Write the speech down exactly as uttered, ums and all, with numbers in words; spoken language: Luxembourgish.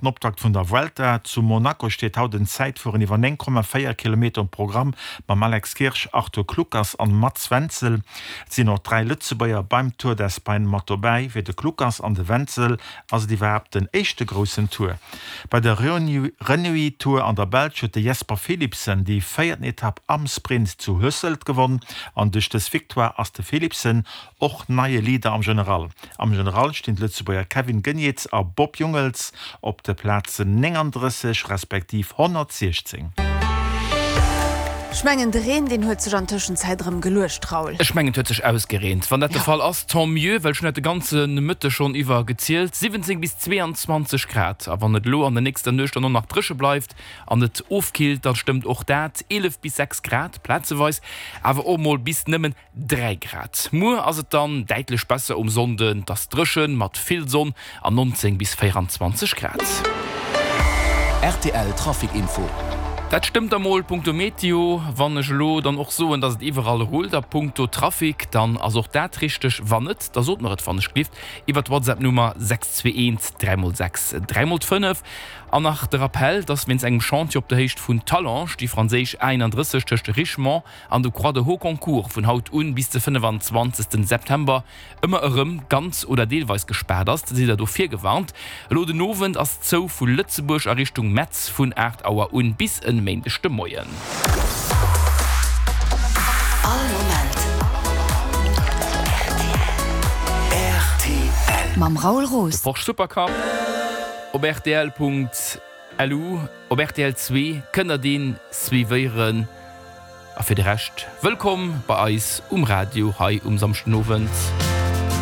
Den Optakt vun der Vuelta zu Monaco steet haut en Zäitfueren iwwer néng Komma véier Kilometer um Programm mam Alex Kirsch, Arthur Kluckers an Mats Wenzel. Et sinn och dräi Lëtzebuerger beim Tour d'Espagne mat dobäi. Fir de Kluckers an de Wenzel ass et iwwerhaapt den éischte groussen Tour. Bei der Renewi Tour an der Belsch huet de Jasper Philipsen déi véierten Etapp am Sprint zu Hoesselt gewonn an duerch dës Victoire ass de Philipsen och neie Leader am General. Am General stinn d'Lëtzebuerger Kevin Geniets a Bob Jungels op de Plazen nénganddrësseg respektiv honnertsiechzéng. Ech mengen de Reen deen huet sech an Tëschenzäit erëm geluecht, Raoul. Ech mengen et huet sech ausgereent. Wann dat de Fall ass, tant mieux, well ech hunn dat de ganze Mëtteg schonn iwwer gezielt, siwwenzéng bis zweeanzwanzeg Grad. A wann et elo an der nächster Nuecht dann och nach dréche bleift an et ofkillt, da stëmmt och dat, eelef bis sechs Grad plazeweis, awer och mol bis nëmmen dräi Grad. Muer ass et dann däitlech besser um Sonnden, et ass dréchen mat vill Sonn an nonzéng bis véieranzwanzeg Grad. Rtl Trafic Info. Dat stëmmt da mol punkto Meteo. Wann ech elo dann och soen, dass et iwwerall rullt a punkto Trafic, dann ass och dat richteg. Wann net, da sot mer et wannechgelift iwwer d'WhatsApp-Nummer sechs zwee eent dräi mol sechs dräi mol fënnef. An nach de Rappell, dass wéinst engem Chantier op der Héicht vun Talange déi franséisch A einunddrësseg tëscht Richemont an de Croix de Hauconcourt vun haut un bis de fënnefenzwanzegsten September ëmmer erëm ganz oder deelweis gespaart ass. Sidd der do virgewarnt. Elo den Owend ass zou vu Lëtzebuerg a Richtung Metz vun aacht Auer un bis en Méindeg de Moien. All Moment rtl. Mam Raoul Roos. De Porsche Supercup op rtl.lu, op rtl zwee kënnt der deen suivéieren. A fir de Rescht, wëllkomm bei eis um Radio hei um Samschdenowend.